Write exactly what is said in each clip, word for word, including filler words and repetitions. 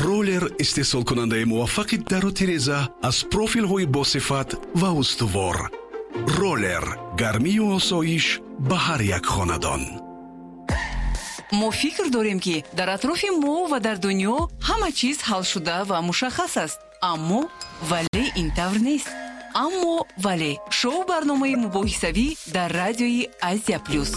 Роллер истеҳсолкунандаи муваффақи дару тиреза аз профилҳои босифат ва устувор. Роллер гармию осоиш ба ҳар як хонадон. Мо фикр дорем, ки дар атрофи мо ва дар дунё ҳама чиз ҳалшуда ва мушаххас аст, аммо вале ин тавр нест. Аммо вале шоу барномаи мубоҳисавӣ дар радиои Азия Плюс.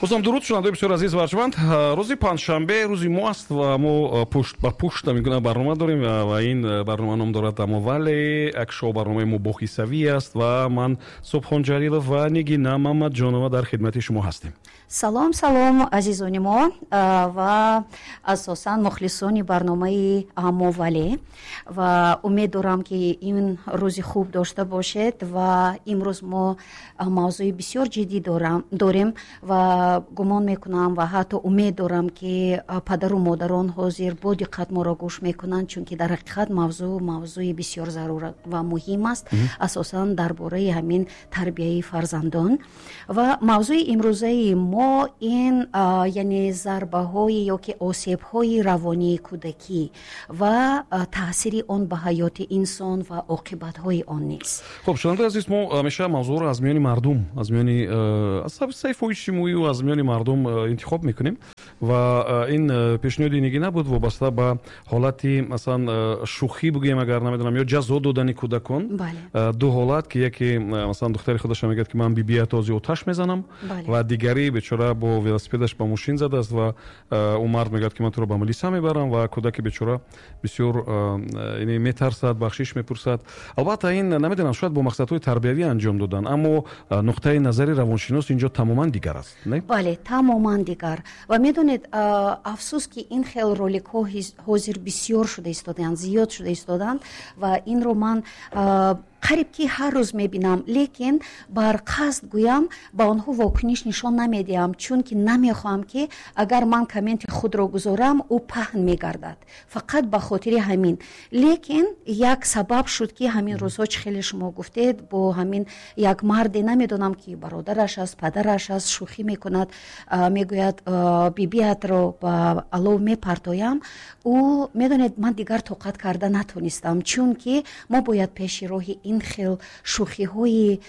Бозам дуруд, шунавандаои бисёр азиз ва арҷманд. Рӯзи панҷшанбе рӯзи мо аст ва мо пушт ба пушт ҳамин барнома дорем ва ин барнома ном дорад «Аммо вале», як шоу барномаи мубоҳисавӣ аст ва ман, Субҳон Ҷалилов, ва Нигина Мамадҷонова дар хидмати шумо ҳастем. Салом, салом, азизони мо ва асосан мухлисони барномаи «Аммо вале», ва умед дорам, ки ин рӯзи хуб дошта бошед. Ва имрӯз мо мавзӯи бисёр ҷиддӣ дорем ва гумон мекунам ва ҳатто умед дорам, ки падару модарон ҳозир бо диққат моро гӯш мекунанд, чунки дар ҳақиқат мавзӯъ мавзӯи бисёр зарур ва муҳим аст, асосан дар бораи ҳамин тарбияи фарзандон. Ва мавзӯи имрӯзаи мо ин, яъне, зарбаҳои ё ки осебҳои равонии кӯдакӣ ва таъсири он ба ҳаёти инсон ва оқибатҳои он низ. Хуб, шунавандаи азиз, мо ҳамеша мавзӯъро аз миёни мардум, аз миёни саҳифаҳои иҷтимоӣ аз миёни мардум интихоб мекунем ва ин пешниҳоди Нигина буд, вобаста ба ҳолати, масалан, шӯхӣ бигӯем, агар намедонам, ё ҷазо додани кӯдакон. Ду ҳолат, ки яке, масалан, духтари худаша мегӯяд, ки ман бибият ози оташ мезанам, ва дигари бечора бо велосипедаш ба мошин задааст ва ӯ мард мегӯяд, ки ман туро ба милиса мебарам, ва кӯдаки бечора бисёр метарсад, бахшиш мепурсад. Албатта, ин, намедонам, шояд бо мақсадҳои тарбиявӣ анҷом додан, аммо нуқтаи назари равоншинос инҷо тамоман дигар аст. Бале, тамоман дигар. Ва медонед, афсӯс, ки ин хел роликҳо ҳозир бисёр шуда истодаанд, зиёд шуда истодаанд ва инро ман қариб ки ҳар рӯз мебинам, лекин бар қасд гӯям, ба онҳо вокуниш нишон намедиҳам, чунки намехоҳам, ки агар ман комменти худро гузорам, ӯ паҳн мегардад. Фақат ба хотири ҳамин. Лекин як сабаб шуд, ки ҳамин рӯзҳо, чӣ хеле шумо гуфтед, бо ҳамин як марде, намедонам, ки бародараш аст, падараш аст, шӯхӣ мекунад, мегӯяд, бибиятро ба алов мепартоям. Ӯ, медонед, ман дигар тоқат карда натонистам, чунки мо бояд пеши роҳи ин хел шӯхиҳои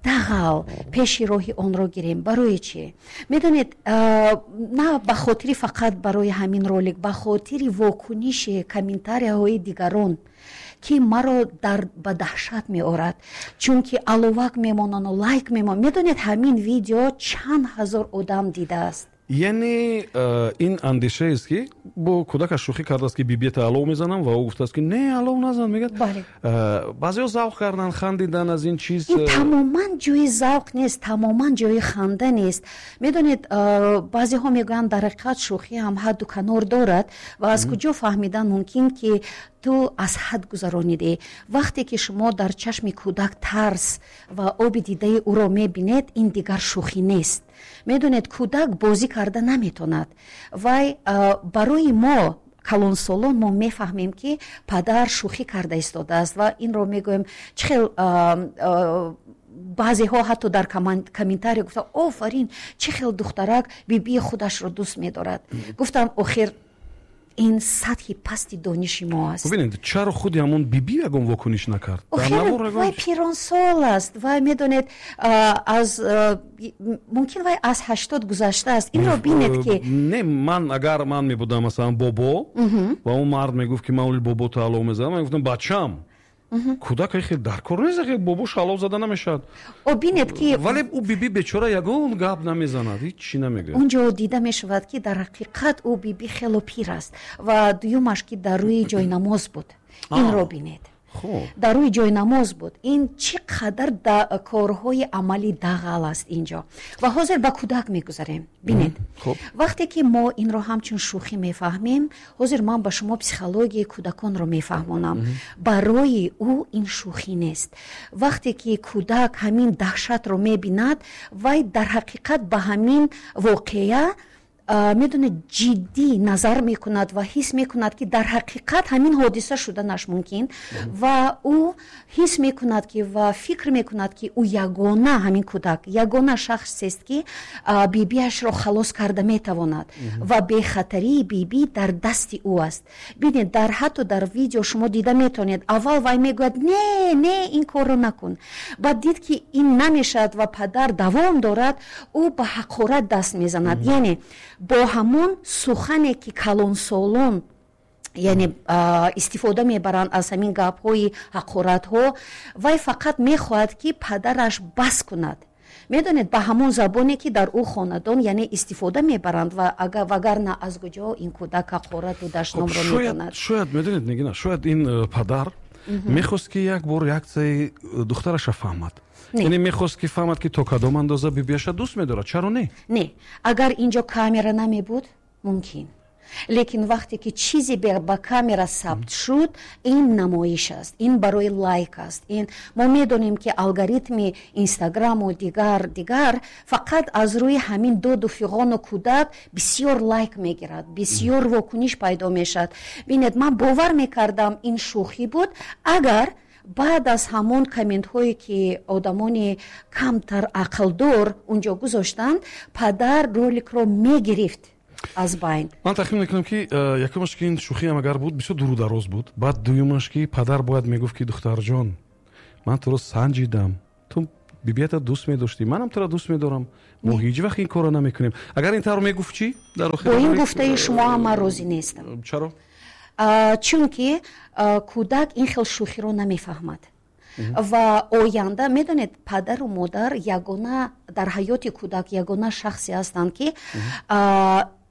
дағал, пеши роҳи онро гирем. Барои чӣ, медонед? На ба хотири фақат барои ҳамин ролик, ба хотири вокуниши комментарияҳои дигарон, ки маро дар ба даҳшат меорад, чунки аловак мемонану лайк мемонанд. Медонед, ҳамин видео чанд ҳазор одам дидааст. Яъне э, ин андешаест, ки бо кӯдакаш шӯхӣ кардааст, ки бибията алов мезанам, ва ӯ гуфтааст, ки не, алов назан, мегӯяд. э, баъзеҳо завқ карданд, хандидан аз ин чиз. Ин тамоман ҷои завқ нест, тамоман ҷои ханда нест. Медонед, э, баъзеҳо мегӯянд, дар ҳақиқат шӯхӣ ҳам ҳадду канор дорад. Ва аз куҷо фаҳмидан мумкин, ки ту аз ҳад гузаронидӣ? Вақте ки шумо дар чашми кӯдак тарс ва оби дидаи ӯро мебинед, ин дигар шӯхӣ нест. Медонед, кӯдак бозӣ карда наметонад. Вай барои мо, калонсолон, мо мефаҳмем, ки падар шӯхӣ карда истодааст ва инро мегӯем. Чӣ хел баъзеҳо ҳатто дар комментария гуфтанд: «Офарин, чӣ хел духтарак бибии худашро дӯст медорад». Гуфтам, охир ин сатҳи пасти дониши мо аст. Бубинед, чаро худи ҳамон биби ягон вокуниш накард? Вай пиронсол аст. Вай, медонед, аз мумкин вай аз ҳаштод гузаштааст. Инро бинед, ки Не, ман агар ман мебудам, масалан, бобо, ва он мард мегуфт, ки ман оли бобото алов мезанам, ман мегуфтам: «Бачам, кӯдак хел дар кор нест, бобош алов зада намешавад». О, бинед, ки Вале ӯ биби бечора ягон гап намезанад, ҳеҷ чӣ намегӯяд. Он ҷо дида мешавад, ки дар ҳақиқат ӯ биби хело пир аст. Ва дуюмаш, ки дар рӯи ҷойнамоз буд. Инро бинед, дар рӯи ҷойнамоз буд. Ин чӣ қадар корҳои амали дағал аст инҷо. Ва ҳозир ба кӯдак мегузарем. Бинед, вақте ки мо инро ҳамчун шӯхӣ мефаҳмем, ҳозир ман ба шумо психологияи кӯдаконро мефаҳмонам. Барои ӯ ин шӯхӣ нест. Вақте ки кӯдак ҳамин даҳшатро мебинад, вай дар ҳақиқат ба ҳамин воқеа Медонед, ҷиддӣ назар мекунад ва ҳис мекунад, ки дар ҳақиқат ҳамин ҳодиса шуданаш мумкин, ва ӯ ҳис мекунад ки ва фикр мекунад, ки ӯ ягона, ҳамин кӯдак ягона шахсест, ки бибиашро халос карда метавонад ва бехатарии бибӣ дар дасти ӯ аст. Бинед, дар ҳатто дар видео шумо дида метавонед, аввал вай мегӯяд: «Не, не, ин корро накун». Баъд дид, ки ин намешавад ва падар давом дорад, ӯ ба ҳақорат даст мезанад, яъне бо ҳамон сухане, ки калонсолон, яъне истифода мебаранд аз ҳамин гапҳои ҳақоратҳо. Вай фақат мехоҳад, ки падараш бас кунад, медонед, ба ҳамон забоне, ки дар ӯ хонадон, яъне истифода мебаранд. Ва вагарна аз куҷо ин кӯдак ҳақорату дашномро медонад? Шояд, медонед, Нигина, шояд ин э, падар мехост, ки як бор реаксияи духтараша фаҳмад, яъне мехост, ки фаҳмад, ки то кадом андоза бибиаша дӯст медорад. Чаро не? Не, агар инҷо камера намебуд, мумкин, лекин вақте ки чизе ба камера сабт шуд, ин намоиш аст, ин барои лайк аст. Ин мо медонем, ки алгоритми Инстаграму дигар дигар фақат аз рӯи ҳамин доду фиғону кӯдак бисёр лайк мегирад, бисёр вокуниш пайдо мешавад. Бинед, ман бовар мекардам, ин шӯхӣ буд, агар баъд аз ҳамон комментҳое, ки одамони камтар ақлдор унҷо гузоштанд, падар роликро мегирифт аз байн. Ман тахмин мекунам, ки э, якумаш, ки ин шӯхиам агар буд, бисёр дуру дароз буд. Баъд дуюмаш, ки падар бояд мегуфт, ки духтарҷон, ман туро санҷидам, ту бибията дӯст медоштӣ, манам туро дӯст медорам, мо ҳеҷ вақт ин корро намекунем. Агар ин тавр мегуфт, чӣ? Дар бо ин гуфтаи шумо ҳам ман розӣ нестам. Чаро? Чунки кӯдак ин хел шӯхиро намефаҳмад ва оянда, медонед, падару модар ягона дар ҳаёти кӯдак ягона шахсе ҳастанд, ки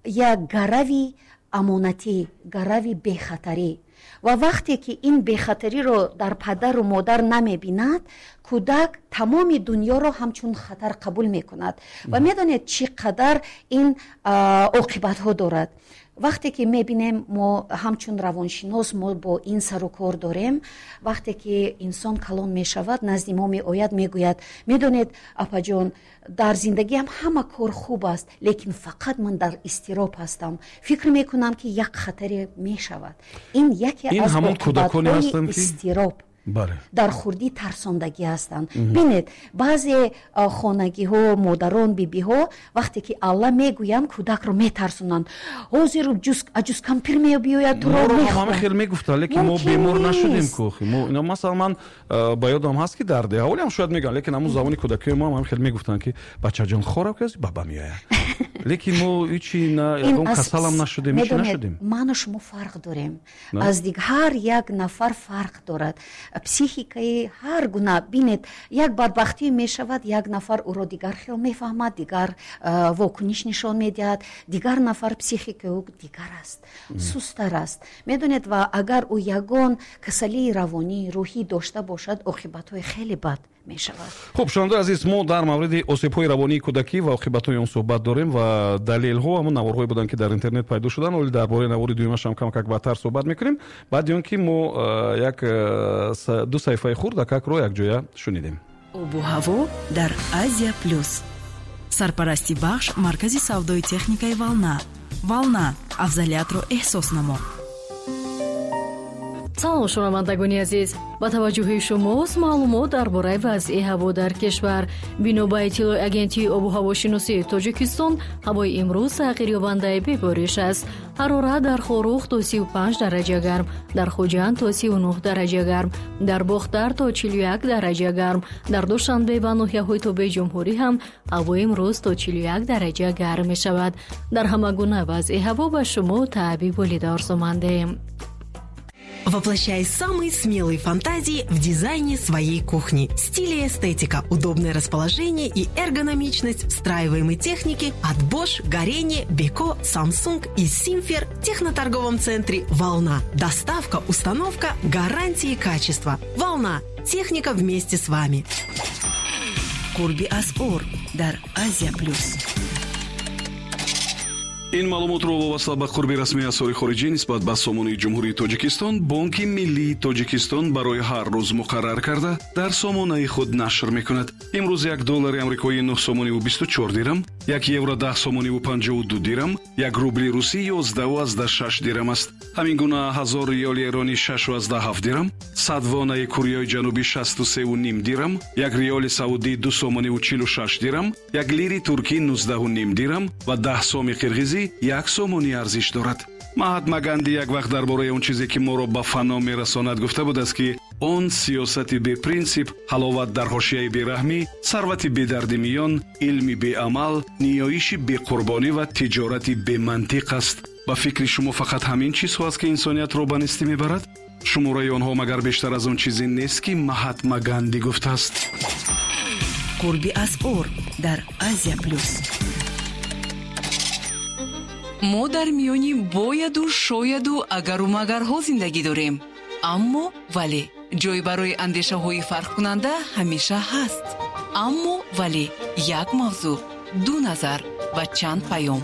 як гарави амонатӣ, гарави бехатарӣ. Ва вақте ки ин бехатариро дар падару модар намебинад, кӯдак тамоми дунёро ҳамчун хатар қабул мекунад. Ва медонед, чӣ қадар ин оқибатҳо дорад? Вақте ки мебинем, мо ҳамчун равоншинос мо бо ин сару кор дорем. Вақте ки инсон калон мешавад, назди мо меояд, мегӯяд: «Медонед, апаҷон, дар зиндагиам ҳама кор хуб аст, лекин фақат ман дар изтироб ҳастам, фикр мекунам, ки як хатаре мешавад». Ин яке аз оқибатҳои изтироб, дар хурдӣ тарсондагӣ ҳастанд. Бинед, баъзе хонагиҳо, модарон, бибиҳо вақте ки алла мегӯянд, кӯдакро метарсонанд: «Ҳозир аҷузкампир мебиёяд, туро Ҳама хел мегуфтанд, лекин мо бемор нашудем ку. Масалан, ман ба ёдам ҳаст, ки дар деҳа ҳолиам шояд мегӯянд, лекин ҳамун замони кӯдакиҳои мо ҳам хел мегуфтанд, ки бачаҷон, хораб ки баба меояд. Лекин мо ҳичи ягон касалам нашудем, ҳичи нашудем. Ману шумо фарқ дорем аз диг, ҳар як нафар фарқ дорад, психикаи ҳар гуна. Бинед, як бадбахтӣ мешавад, як нафар ӯро дигар хел мефаҳмад, дигар вокуниш нишон медиҳад, дигар нафар психикаи ӯ дигар аст, сустар аст, медонед. Ва агар ӯ ягон касалии равонӣ, рӯҳӣ дошта бошад, оқибатҳои хеле бад мешавад. Хуб, шунавандаи азиз, мо дар мавриди осебҳои равонии кӯдакӣ ва оқибатҳои он суҳбат дорем ва далелҳо ҳамон наворҳое буданд, ки дар интернет пайдо шуданд. Оли дар бораи навори дуюмашам камакак баъдтар суҳбат мекунем, баъди он ки мо э, як э, ду саҳифаи хурдакакро якҷоя шунидем. Обу ҳаво дар Азия Плюс. Сарпарасти бахш маркази савдои техникаи «Волна». «Волна» — афзалиятро эҳсос намо. Салом, шунавандагони азиз! Ба таваҷҷӯҳи шумост маълумот дар бораи вазъи ҳаво дар кишвар. Бино ба иттилои Агентии обу ҳавошиносии Тоҷикистон, ҳавои имрӯз тағйирёбандаи бебориш аст. Ҳарорат дар Хоруғ то сию панҷ дараҷа гарм, дар Хуҷанд то сию нӯҳ дараҷа гарм, дар Бохтар то чилу як дараҷа гарм, дар Душанбе ва ноҳияҳои тобеи ҷумҳурӣ ҳам ҳавои имрӯз то чилу як дараҷа гарм мешавад. Дар ҳама гуна вазъи ҳаво ба шумо таъби болида орзумандем. Воплощай самые смелые фантазии в дизайне своей кухни. Стиль и эстетика, удобное расположение и эргономичность встраиваемой техники от Bosch, Gorenje, Beko, Samsung и Simfer в техноторговом центре «Волна». Доставка, установка, гарантии качества. «Волна». Техника вместе с вами. Қурби асъор дар Азия Плюс. Ин маълумотро вобаста ба қурби расмии асъори хориҷӣ нисбат ба сомонаи Ҷумҳурии Тоҷикистон Бонки Миллии Тоҷикистон барои ҳар рӯз муқаррар карда дар сомонаи худ нашр мекунад. Имрӯз як доллари амрикоӣ нӯҳ сомониву бисту чор дирам, як евро даҳ сомониву панҷоҳу ду дирам, як рубли русӣ ёздаҳу аздаҳ шаш дирам аст. Ҳамин гуна ҳазор риёли эронӣ шашу аздаҳ ҳафт дирам, сад вонаи Кореяи Ҷанубӣ шасту севу ним дирам, як риёли саудӣ ду сомониву чилу шаш дирам, як лири туркӣ нуздаҳу ним дирам ва даҳ соми қирғизӣ як сомонӣ арзиш дорад. Маҳатма Ганди як вақт дар бораи он чизе, ки моро ба фано мерасонад, гуфта будааст, ки он сиёсати бепринсип, ҳаловат дар ҳошияи бераҳмӣ, сарвати бедарди миён, илми беамал, ниёиши беқурбонӣ ва тиҷорати бемантиқ аст. Ба фикри шумо фақат ҳамин чизҳо аст, ки инсониятро ба нестӣ мебарад? Шумораи онҳо магар бештар аз он чизе нест, ки Маҳатма Ганди гуфтааст? Қурби асъор дар Азия Плюс. Мо дар миёни бояду шояду агару магарҳо зиндагӣ дорем, аммо вале ҷой барои андешаҳои фарқкунанда ҳамеша ҳаст. Аммо вале як мавзӯъ, ду назар ва чанд паём.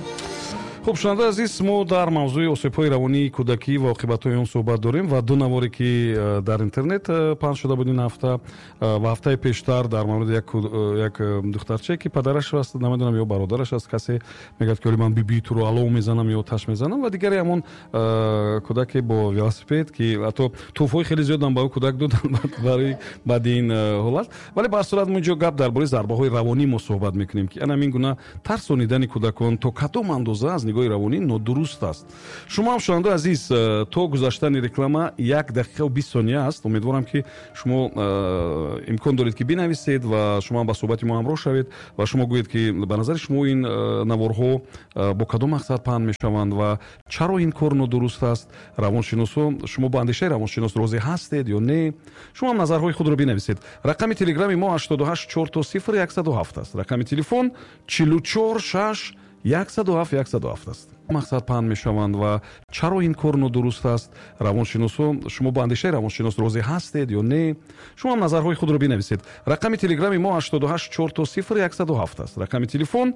Хуб, шунавандаи азиз, мо дар мавзӯи осебҳои равонии кӯдакӣ ва оқибатҳои он суҳбат дорем ва ду наворе, ки э, дар интернет э, паҳн шуда буд ин ҳафта э, ва ҳафтаи пештар, дар мавриди як духтарчае, ки падараш аст, намедонам, ё бародараш аст, касе мегӯяд, ки оли ман бибии туро алов мезанам ё оташ мезанам, ва дигаре ҳамон кӯдаке бо велосипед, ки ҳатто тӯҳфаҳои хеле зиёдам ба ӯ кӯдак доданд барои баъди ин ҳолат. Вале ба ҳар сурат мо инҷо гап дар бораи зарбаҳои равонӣ мо суҳбат мекунем, ки ана ҳамин гуна тарсонидани кӯдакон то кадом андоза аз нигоҳи равонӣ нодуруст аст. Шумо ҳам, шунавандаи азиз, э, то гузаштани реклама як дақиқаву бист сония аст. Умедворам, ки шумо э, имкон доред, ки бинависед ва шумо ҳам ба суҳбати мо ҳамроҳ шавед ва шумо гӯед, ки ба назари шумо ин э, наворҳо бо кадом мақсад паҳн мешаванд ва чаро ин кор нодуруст аст. Равоншиносо, шумо бо андешаи равоншинос розӣ ҳастед ё не? Шумо ҳам назарҳои худро бинависед. Рақами телеграми мо ҳаштоду ҳашт чор то сифр яксаду ҳафт аст. Рақами телефон чилу чор шаш яксаду ҳафт яксаду ҳафт аст. Мақсад паҳн мешаванд ва чаро ин кор нодуруст аст. Равоншиносо, шумо бо андешаи равоншинос розӣ ҳастед ё не? Шумо ҳам назарҳои худро бинависед. Рақами телеграми мо ҳаштоду ҳашт чор то сифр яксаду ҳафт аст. Рақами телефон